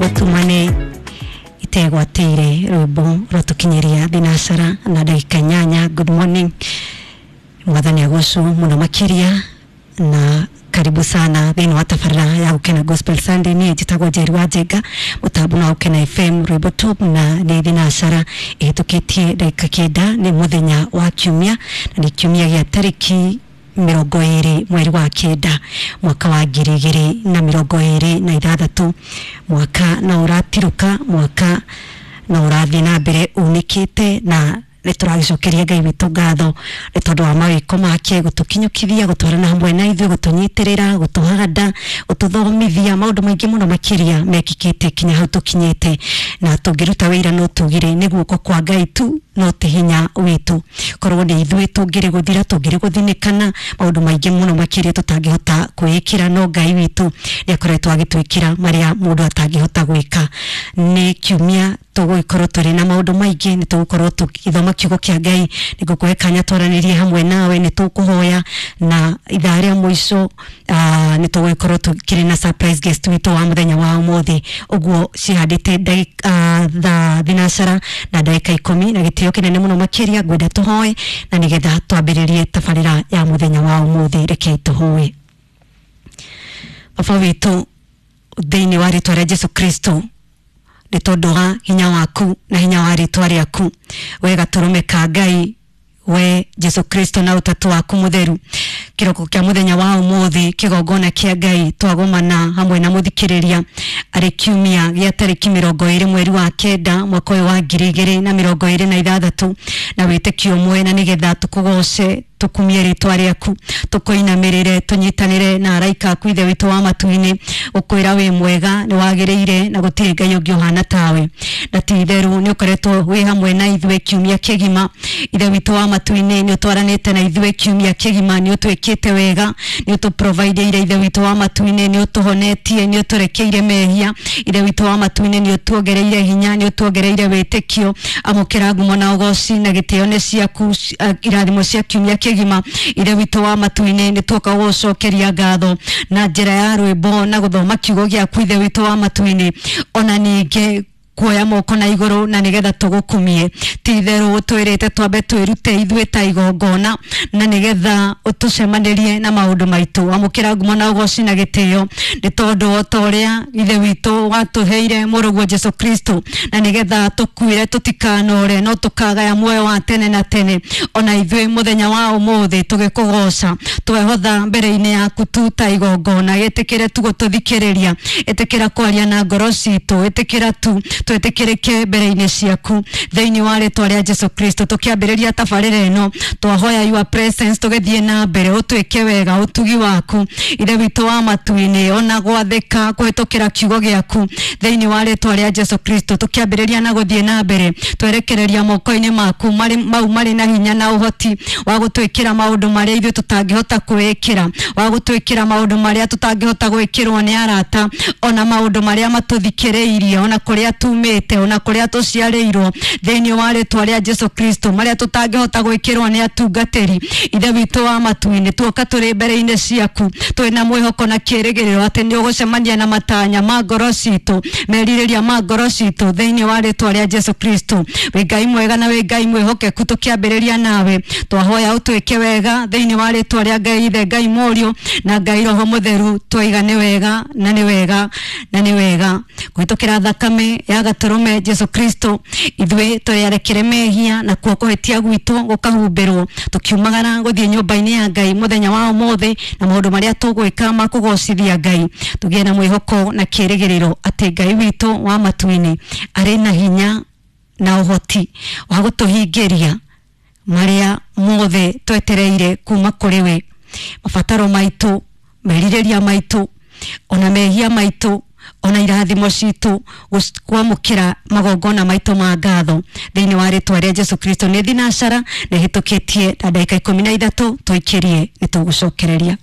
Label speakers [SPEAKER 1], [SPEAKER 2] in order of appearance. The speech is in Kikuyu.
[SPEAKER 1] Gũtumane itegwatĩire rwĩmbo rwatũkinyeria thinacara na ndagĩka 8. Good morning, mwathani agocwo mũno makĩria na karibu sana thĩinĩ wa tabarĩra ya Gũkena Gospel Sunday. Niĩ njĩtagwo Njeri wa Njenga, mũtambo wa Gũkena FM rwĩmbo top, na nĩ thinacara ĩhĩtũkĩtie ndagĩka 9. Nĩ mũthenya wa kiumia na nĩ kiumia gĩa tarĩki 20 mweri wa 9 mwaka wa 2026. Mwaka no ũratirũka, mwaka no ũrathiĩ na mbere unĩkĩte, na nĩ tũragĩcokeria Ngai witũ ngatho nĩ tondũ wa mawĩko make gũtũkinyũkithia, gũtwarana hamwe na ithuĩ, gũtũnyitĩrĩra, gũtũhanda, gũtũthomithia maũndũ maingĩ mũno makĩria mekĩkĩte kinya hau tũkinyĩte. Na tũngĩruta wĩira no tugire nĩ guoko kwa Ngai tu, no ti hinya witũ. Korwo nĩ ithuĩ tũngĩrĩ gũthira, tũngĩrĩ gũthinĩkana, maũndũ maingĩ mũno makĩria tũtangĩhota kwĩĩkĩra, no Ngai witũ nĩ akoretwo agĩtwĩkĩra marĩa mũndũ atangĩhota gwĩka. Nĩ kiumia tũgũgĩkorwo tũrĩ na maũndũ maingĩ, nĩ tũgũkorwo tũgĩthoma kiugo kĩa Ngai, nĩ ngũkũhe kanya twaranĩrie hamwe nawe, nĩ tũkũhoya, na ithaa rĩa mũico nĩ tũgũgĩkorwo tũkĩrĩ na surprise guest witũ wa mũthenya wa ũmũthĩ. Ũguo cihandĩte thaa thinacara na ndagĩka 10, na gĩtĩo kĩnene mũno makĩria ngwenda tũhoe na nĩgetha twambĩrĩrie tabarĩra ya mũthenya wa ũmũthĩ. Rekei tũhoe. Baba witũ, thĩinĩ wa rĩtwa rĩa Jesu Kristo, nĩ tondũ wa hinya waku na hinya wa rĩtwa rĩaku, we gatũrũme ka Ngai, we Jesu Kristo na ũtatũ waku mũtheru, kĩroko kĩa mũthenya wa ũmũthĩ, kĩgongona kĩa Ngai, twagomana hamwe na mũthikĩrĩria arĩ kiumia gĩa tarĩki 20 mweri wa 9 mwaka ũyũ wa 2026, na wĩtĩkio ũmwe, na nĩgetha tũkũgoce, tũkumie rĩtwa rĩaku, tũkũinamĩrĩre, tũnyitanĩre na araika aku, Ithe witũ wa matu-inĩ, gũkwĩra wĩ mwega, nĩ wagĩrĩire, na gũtirĩ Ngai ũngĩ ũhana tawe. Na ti itherũ nĩ ũkoretwo wĩ hamwe na ithuĩ kiumia kĩgima. Ithe witũ wa matu-inĩ, nĩ ũtwaranĩte na ithuĩ kiumia kĩgima, nĩ ũtwĩkĩte wega, nĩ ũtũprovideire. Ithe witũ wa matu-inĩ, nĩ ũtũhonetie, nĩ ũtũrekeire mehia. Ithe witũ wa matu-inĩ, nĩ ũtuongereire hinya, nĩ ũtuongereire wĩtĩkio. Amũkĩra ngumo na ũgoci na gĩtĩo nĩ ciaku, irathimo cia kiumia kĩgima. Ithe witũ wa matu-inĩ, nĩ tuoka gũgũcokeria ngatho na njĩra ya rwĩmbo na gũthoma kiugo gĩaku, Ithe witũ wa matu-inĩ, ona ningĩ kuoya moko na igũrũ na nĩgetha tũgũkumie. Ti itherũ ũtwĩrĩte twambe twĩrute ithuĩ ta igongona na nĩgetha ũtũcemanĩrie na maũndũ maitũ. Amũkĩra ngumo na ũgoci na gĩtĩo, nĩ tondũ o ta ũrĩa Ithe witũ watũheire mũrũguo Jesu Kristo na nĩgetha tũkuire tũtikanore no tũkagaya muoyo wa tene na tene, ona ithuĩ mũthenya wa ũmũthĩ tũgĩkũgoca twehotha mbere-inĩ yaku tu ta igongona. Ĩtĩkĩre tu gũtũthikĩrĩria, ĩtĩkĩra kwaria na ngoro citũ, ĩtĩkĩra tu twĩtĩkĩrĩke mbere-inĩ ciaku thĩinĩ wa rĩtwa rĩa Jesu Kristo. Tũkĩambĩrĩria tabarĩra ĩno, twahoya your presence, tũgĩthiĩ na mbere, ũtwĩke wega, ũtugi waku, Ithe witũ wa matu-inĩ, ona gwathĩka kũhĩtũkĩra kiugo gĩaku thĩinĩ wa rĩtwa rĩa Jesu Kristo. Tũkĩambĩrĩria na gũthiĩ na mbere, twerekereria moko-inĩ maku marĩ mau marĩ na hinya na ũhoti wa gũtwĩkĩra maũndũ marĩa ithuĩ tũtangĩhota kwĩĩkĩra, wa gũtwĩkĩra maũndũ marĩa tũtangĩhota gwĩkĩrwo nĩ arata, ona maũndũ marĩa matũthikĩrĩirie, ona kũrĩa tumĩte, ona kũrĩa tũciarĩirwo, thĩinĩ wa rĩtwa rĩa Jesu Kristo, marĩa tũtangĩhota gwĩkĩrwo nĩ atungatĩri. Ithe witũ wa matu-inĩ, tuoka tũrĩ mbere-inĩ ciaku twĩna mwĩhoko na kĩĩrĩgĩrĩro atĩ nĩ ũgũcemania na matanya ma ngoro citũ, merirĩria ma ngoro citũ, thĩinĩ wa rĩtwa rĩa Jesu Kristo. Wĩ Ngai mwega na wĩ Ngai mwĩhokeku. Tũkĩambĩrĩria nawe, twahoya ũtwĩke wega thĩinĩ wa rĩtwa rĩa Ngai Ithe, Ngai Mũriũ na Ngai Roho Mũtheru. Twaiga nĩ wega na nĩ wega na nĩ wega. Kũhĩtũkĩra thakame ya gatũrũme Jesu Kristo, ithuĩ tũrĩarekere mehia na kuo kũhĩtia gwitũ gũkahumbĩrwo, tũkiumagara gũthiĩ nyũmba-inĩ ya Ngai mũthenya wa ũmũthĩ na maũndũ marĩa tũgwĩka ma kũgocithia Ngai, tũgĩe na mwĩhoko na kĩĩrĩgĩrĩro atĩ Ngai witũ wa matu-inĩ arĩ na hinya na ũhoti wa gũtũhingĩria marĩa mothe twetereire kuma kũrĩ we, mabataro maitũ, merirĩria maitũ, ona mehia maitũ, ona irathimo citũ, kwamũkĩra magongona maitũ ma ngatho thĩinĩ wa rĩtwa rĩa Jesu Kristo. Nĩ thinacara na ĩhĩtũkĩtie na ndagĩka 13, tũikĩrie nĩ tũgũcokereria.